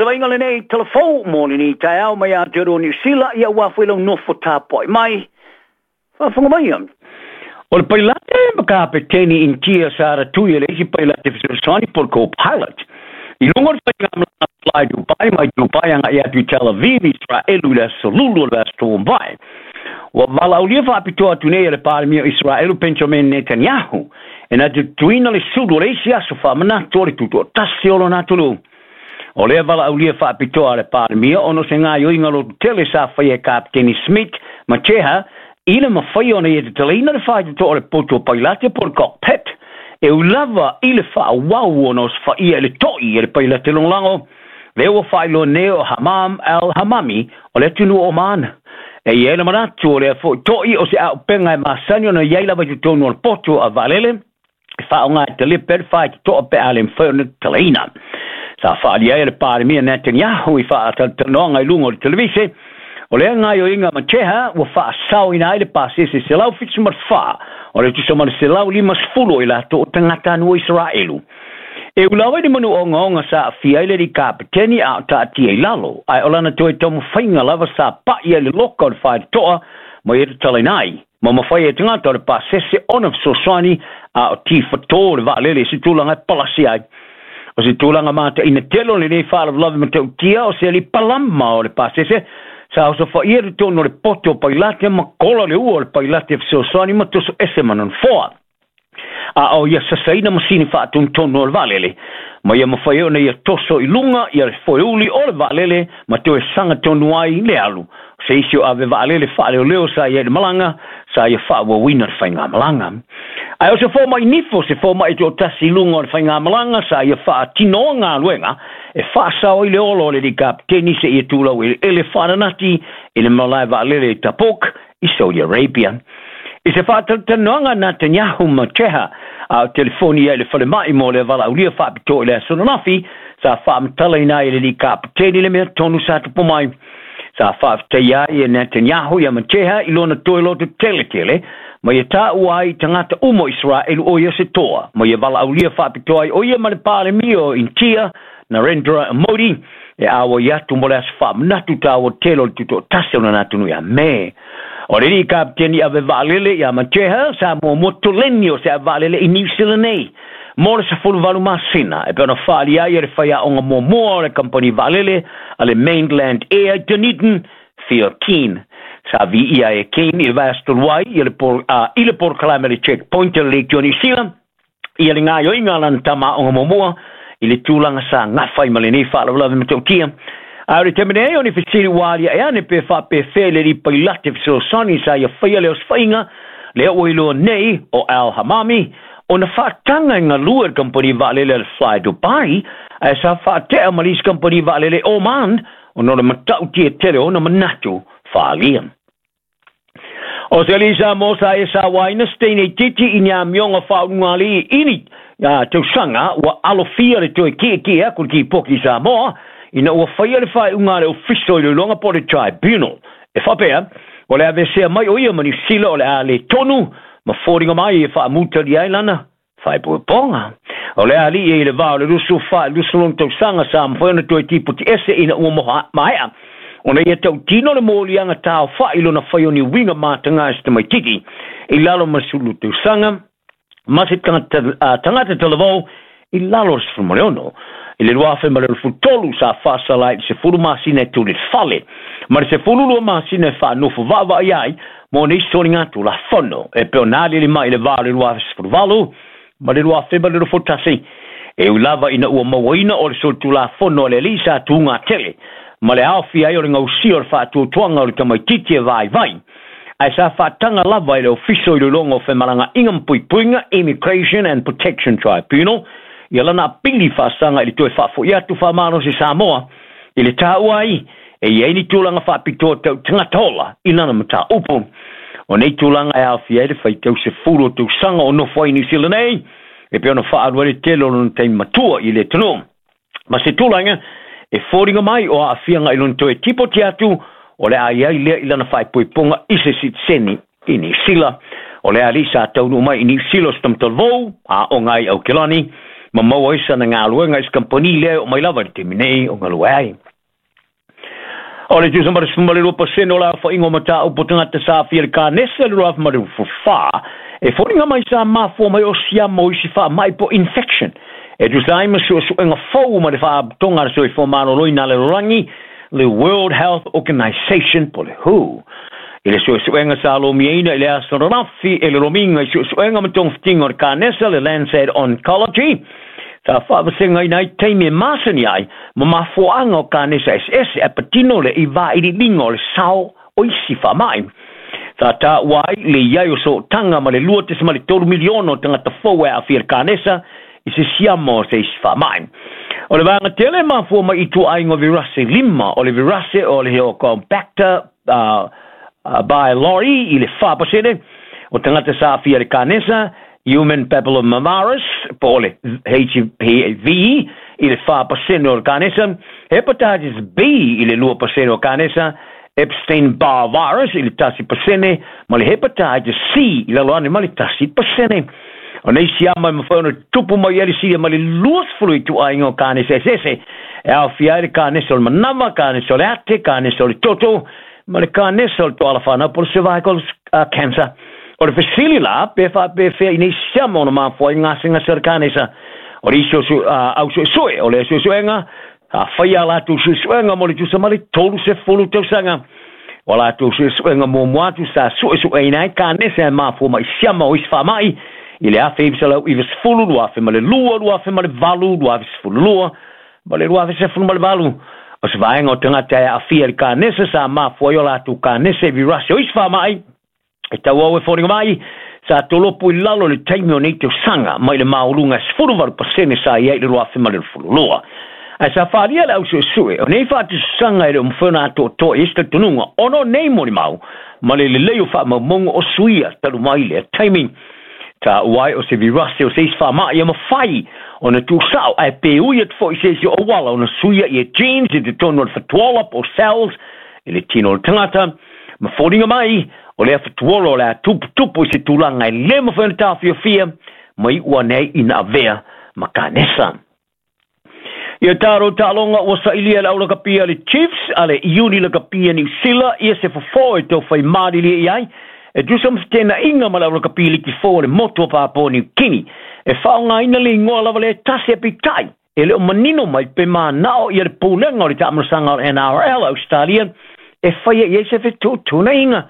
se vaaiga lenei talafou mo lenei taeao mai Aotearoa Niu Sila, ia ua foi lau nofo tapuai mai. Faafofoga maia. O le pailate ma kapeteni Initia sa ratui e le isi pailate fesoasoani po o le co-pilot i luga o le faigamalaga Fly Dubai mai Dubai agai atu i Tel Aviv, Israelu i le aso Lulu o le vaiaso ua mavae. Ua valaaulia faapitoa atu nei e le Palemia o Israelu Benjamin Netanyahu e na te tutuina le sulu o le isi aso faamanatu o le tutoatasi o lona atunuu. O lea valaaulia faapitoa a le Palemia ona o se gaoioiga lototele sa faia e Kapeteni Smith ma Cheha i le mafai ona ia tatalaina le faitotoa o le potu o pailate po o le cockpit e ui lava i le faaauau ona osofaia i le to'i e le pailate lagolago lea ua faailoa nei o Hammam Al Hammami o le atunuu o Oman. E i ai le manatu o lea foi to'i o se auupega e masani ona i ai lava i totonu o le potu a vaalele e faaaoga e talepe ai le faitotoa pe a le mafai ona tatalaina. Sa faaalia ai e le Palemia Netanyahu i faatalatalanoaga i luga o le televise, o lea gaoioiga ma Cheha ua faasaoina ai le pasese 174 o le tusa ma le 150 o i latou o tagatanuu o Isaraelu. E ula ai le manu ogaoga sa aafia ai le alii kapeteni a o taatia i lalo, ae o lana toe taumafaiga lava sa pai ai le loka o le faitotoa ma ia tatalaina ai, ma mafai ai e tagata o le pasese ona fesoasoani a o tifatō le vaalele i se tulaga e palasi ai. O se tulaga mataina tele o lenei faalavelave matautia o se alii palama o le pasese sa osofaia i totonu o le poto o pailate ma kola le ua o le pailate fesoasoani ma toso ese ma nofoa. A o ia sasaina masini faatonutonu o le vaalele, ma ia mafai ai ona ia toso i luga ia le foeuli o le vaalele ma toe saga tonu ai le alu. O se isi o ave vaalele faaleoleo sa i ai i le malaga, sa ia faaauauina le faigamalaga. Ae o se fomai nifo, se fomai toatasi i luga o le faigamalaga, sa ia faatinoa galuega e faasao ai le ola o le alii kapeteni seia tulau eleele faananati i le malae vaalele i Tabuk i Saudi Arabia. I se faatalatalanoaga a Netanyahu ma Cheha a o telefoni ai i le falemai mo le valaaulia faapitoa i le aso ananafi, sa faamatalaina ai e le alii kapeteni le mea tonu sa tupu mai. Sa faafetaia ai e Netanyahu ia Macheha i lona toe loto teletele, ma ia taua ai i tagata uma o Isaraelu o ia se toa, ma ia valaaulia faapitoa ai o ia ma le Palemia o Initia, Narendra Modi, e auai atu mo le aso faamanatu taua tele o le tutoatasi o lona atunuu ia Me. O le alii kapeteni ave vaalele ia Macheha sa muamua toleni o se ave vaalele i Niu Sila nei mo le 18 masina e pei ona faaalia ai e le faiaoga muamua o le kamupani vaalele a le Mainland Air i Dunedin, Theo Keane. Sa viia ai e Keane i le vaiaso talu ai i le i le polokalame a le Checkpoint a le Leitio a Niu Sila ia le gaoioiga a lana tama aoga muamua i le tulaga sa gafa ai ma lenei faalavelave matautia. A o le taimi nei, o ni fesili ua aliae ane pe faapefea le alii pailate fesoasoani sa ia faia le osofaiga lea ua iloa nei o Al Hamami ona faataga e galue i le kamupani vaalele a le Fly Dubai ae sa faatea ma le isi kamupani vaalele Oman ona o le matautia tele o ona manatu faaalia. O se alii Samoa sa ia sauaina se teine itiiti i ni amioga faaulugalii i ni tausaga ua alofia le toe kiekie atu i le Kipoki i Samoa ina ua faia le faaiuga a le Ofisa o Iloiloga po o le Tribunal e faapea o le aveesea mai o ia ma Niu Sila o le a le tonu ma foliga mai e faamutalia ai lana faaipoipoga. O le alii i le va o le 24 i le 26 tausaga sa mafai ona toe tipoti ese ina ua maea ona ia tautino le moliaga taofa'i i lona fai o ni uiga mataga i se tamaititi i lalo ma le 12 tausaga ma se tagata talavou i lalo o le 16. I le 2023 sa faasala ai i le 10 masina e tuli i le fale ma le 12 masina e faanofo vaavaai ai mo nei soligatulafono e pei ona aliali mai i le va o le 2018 ma le 2021. E ui lava ina ua mauaina o le solitulafono a le alii sa tugatele ma le aofia ai o le gausia o le faatuatuaga o le tamaitiiti e vaivai, ae sa faataga lava e le Ofisa o Iloiloga o Femalagaaiga ma Puipuiga, Immigration and Protection Tribunal, ia lana apili faasaga i le toe faafoi atu faamalosi i Samoa i le taua ai e i ai ni tulaga faapitoa tau tagata ola i lana mataupu. O nei tulaga e aofia ai le faitau 10 o tausaga o nofo ai i Niu Sila nei, e pei ona faaalu ai le tele o lona taimi matua i le atunuu. Ma se tulaga e foliga mai o aafiaga i lona toe tipoti atu o le a i ai lea i lana faaipoipoga i se sitiseni i Niu Sila. O le alii sa taunuu mai i Niu Sila o se tamatalvou, a o ngai Aukilani, Ma maua ai sana galuega i se kamupani lea e oo mai lava i le taimi nei o galue ai. O le tusa ma le 12% o le aofaiga o mataupu o tagata sa aafia i le kanesa i le 2024, e foliga mai sa mafua mai o siama o isi faamai po o infection e tusa ai ma suesuega fou ma le Faalapotopotoga a le Soifua Maloloina a le Lalolagi, le World Health Organization po o le who. I le suesuega sa lomiaina i le aso ananafi e le Lomiga i Suesuega ma Togafitiga o le Kanesa, le Lancet Oncology, sa faavasegaina ai taimi e masani ai ma mafuaaga o kanesa eseese ae patino le i vailiiliga o le sao o isi faamai. Sa taua ai le i ai o sootaga ma le 2.3 miliona o tagata fou e aafia i le kanesa i se siama o se isi faamai. O le vaega tele e mafua mai i ituaiga o virase 5, o le virase o le Helicobacter pylori i le 4% o tagata sa aafia i le kanesa, Human Papillomavirus, po o le HPV i le 4% o le kanesa, Hepatitis B i le 2% o kanesa, Epstein-Barr virus i le 1% ma le Hepatitis C i lalo ane ma le 1%. O nei siama e mafai ona tutupu mai ai le silia ma le 20 ituaiga o kanesa eseese e aofia ai le kanesa o le manava, kanesa o le ate, kanesa o le toto, ma le kanesa o le toala fanau po o le cervical cancer. O le fesili la, pe faapefea i nei siama ona mafua ai gasegase o le kanesa? O le isi o au suesue o lea suesuega, sa faia a latou suesuega mo le tusa ma le 30 tausaga. O a latou suesuega muamua atu sa suesueina ai kanesa e mafua mai siama o isi faamai i le 1990, 2002, 2008, 2012 ma le 2018. O se vaega o tagata e aafia i le kanesa sa mafua ai o latou kanesa i virasi o isi faamai e tauau e foliga mai, sa tolopo i lalo i le taimi o nei tausaga mai le maualuga e 18% sa i ai i le 2022. Ae sa faaalia le au suesue o nei faatusatusaga e le o mafai ona atoatoa i ai se talitonuga ona o nei molimau ma le lelei o faamaumauga o suia talu mai lea taimi. Taua ai o se virase o se isi faamai e mafai ona tuusao ae pe ui atu foi i se isi o auala ona suia ia genes i totonu o le fatuola po o cells i le tino o le tagata. Ma foliga mai, o lea fatuola o le a tuputupu i se tulaga e le mafai ona taofiofia ma iu ane ai ina avea ma kanesa. Ia taro taaloga ua sailia e le aulakapia a le Chiefs a le Iuni Lakapia Niu Sila ia se fofo e tau fai malilie i ai e tusa ma fetenaiga ma le aulakapia liki fou o le motu o Papua Niu Kini. E faaaogaina le igoa lava lea e tasi e peitai e le o manino mai pe manao ia le pulega o le taamalosaga o le NRL a Ausetalia e faia i ai se fetuutuunaiga.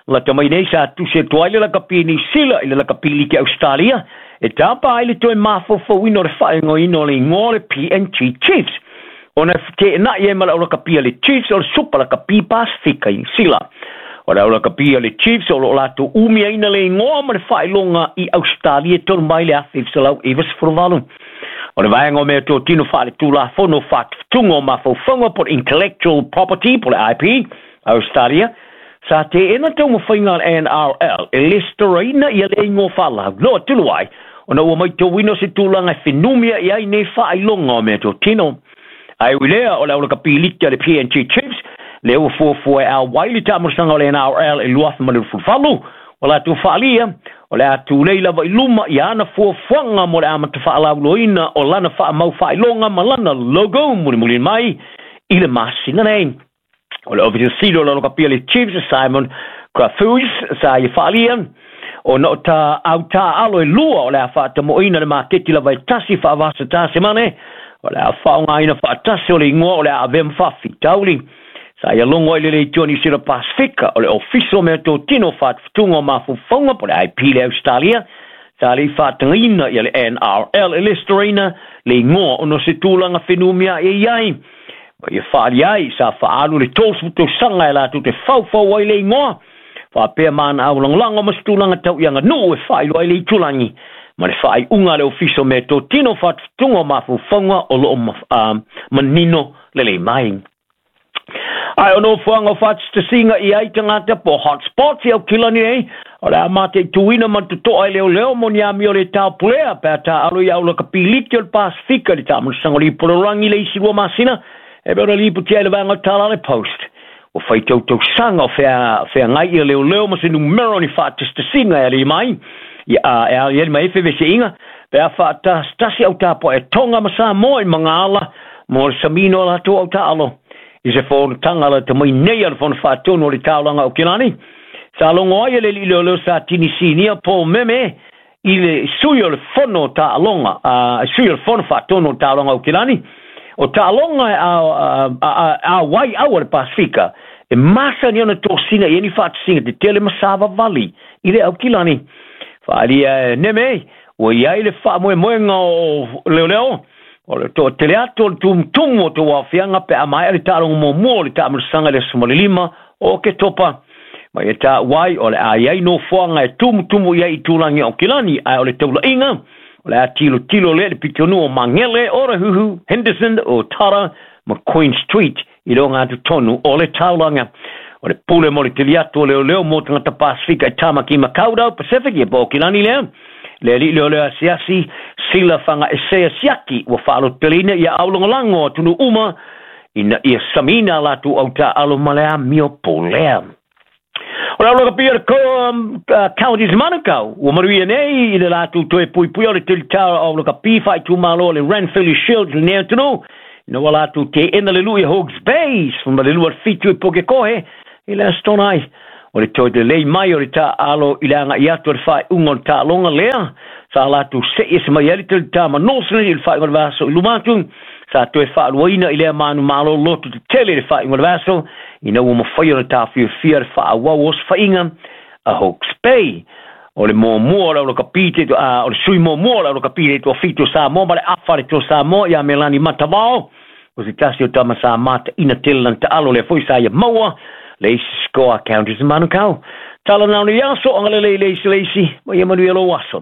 Lata mai nei sa tusi atu ai le lakapi Niu Sila i le lakapi liki Ausetalia e tapa ai le toe mafaufauina o le faaigoaina o le igoa o le PNG Chiefs ona e feteenai ai ma le aulakapi a le Chiefs o le Supa Lakapi Pasifika i Niu Sila. O le aulakapi a le Chiefs o lo o latou umiaina le igoa ma le faailoga i Ausetalia talu mai le 1998. O le vaega o mea totino faaletulafono faatufutuga o mafaufauga po o le Intellectual Property po o le IP a Ausetalia, sa teena taumafaiga a le NRL e lesitalaina ia le igoa faalauiloa talu ai ona ua maitauina o se tulaga e fenumia i ai nei faailoga o mea totino. Ae ui lea, o le aulakapiliki a le PNG Chiefs lea ua fuafua e auai le taamalosaga o le NRL i 2028, ua latou faaalia, o le a tulei lava i luma i ana fuafuaga mo le amata faalauiloaina o lana faamau faailoga ma lana logo mulimuli mai i le masina nei. O le Ofisa Sili o le Aulakapia a le Chiefs, Simon Crafus, sa ia faaalia, ona o ta au taaalo e lua o le a faatamoeina le maketi lava e tasi faavasata semane, o le a faaaogaina faatasi o le igoa o le a avea ma faafitauli. Sa ia logo ai le Leitio Niu Sila Pasifika o le Ofisa o Meatotino Faatufutuga o Mafaufauga po o le IP le Ausetalia, sa le i faatagaina ia le NRL e lesitalaina le igoa ona o se tulaga whenumia e i ai. Ma ia faaalia ai, sa faaalu le 30 tausaga e latou te faufau ai le igoa, faapea ma ana au lagolago ma se tulaga tau i aganuu e faailoa ai le itulagi ma le faaiuga a le Ofisa o Meatotino Faatufutuga o Mafaufauga o lo o manino lelei mai. Ae o nofoaga o faatasitasiga i ai tagata po o hotspots i Aukilani nei, o le a mataituina ma le totoa e leoleo mo ni amio le taupulea pe a taaalo i aulakapiliki o le Pasifika i le taamalosaga o le Ipololagi i le isi 2 masina e pei ona lipotia i le vaega o Talale Post. Ua fai tautausaga o feagai ia leoleo ma se numera o ni faatasitasiga e alii mai, e aliali mai ai fevesiaiga Pe a faatasitasi au tapuaʻi a Tonga ma Samoa i magaala mo le samiina o latou au taaalo i se fonotaga lata mai nei a le Fono Faatonu o le Taulaga o Aukilani. Sa logo ai e le alii leoleo sa tini sinia Paul Meme i le sui o le Fono Taaloga, sui o le Fono Faatonu o le Taulaga o Aukilani, o taaloga e auai au a le Pasefika e masani ona tosina i ai ni faatasiga tetele ma savavali i le Aukilani. Faaalia e Neme, ua i ai le faamoemoega o leoleo o le toatele atu o le tumutumu o tauaofiaga pe a maea le taaloga muamua o le taamilosaga i le aso 15 o Oketopa. Ma ia taua ai o le a i ai nofoaga e tumutumu i ai i tulaga o Aukilani, ae o le taulaiga o le a tilotilo lea i le pitonuu o Magele, Otahuhu, Henderson, Otara ma Queen Street i le ogatotonu o le taulaga. O le pule mo le teli atu o leoleo mo tagata Pasefika i Tamaki Makaurau Pacific, ia po o Aukilani lea, le alii leoleo asiasi Sila Fagaesea Siaki ua faalototeleina ia aulagolago atunuu uma ina ia samiina a latou autaaalo ma le amio polea. O le aulakapia o le Counties Manukau ua manuia nei i le latou toe puipuia o le telitao o aulakapi faaitumalo o le Ranfurly Shield i lenei atunuu, ina ua latou teena le lui a Hawke's Bay 12-7 i Pukekohe i le Aso Toonai. O le toe lelei mai o le taaalo i le agai atu o le faaiuga o le taaloga lea sa latou sei ese mai ai le telitā ma Northland i le faaiuga o le vaiaso i luma atu, sa toe faaluaina i lea manumalo loto tetele i le faaiuga o le vaiaso ina ua mafai ona taofiofia le faaauau o osofaiga a Hawke's Bay. O le muamua o le aulakapi te, o le sui muamua o le aulakapi le toafitu o Samoa ma le afa le toa Samoa ia Melani Matavao, o se tasi o tama sa mataina tele lana taalo lea foi sa ia maua le isi score a Counties Manukau. Tala nao ni aso, agalelei le isi le isi, ma ia manuia lou aso.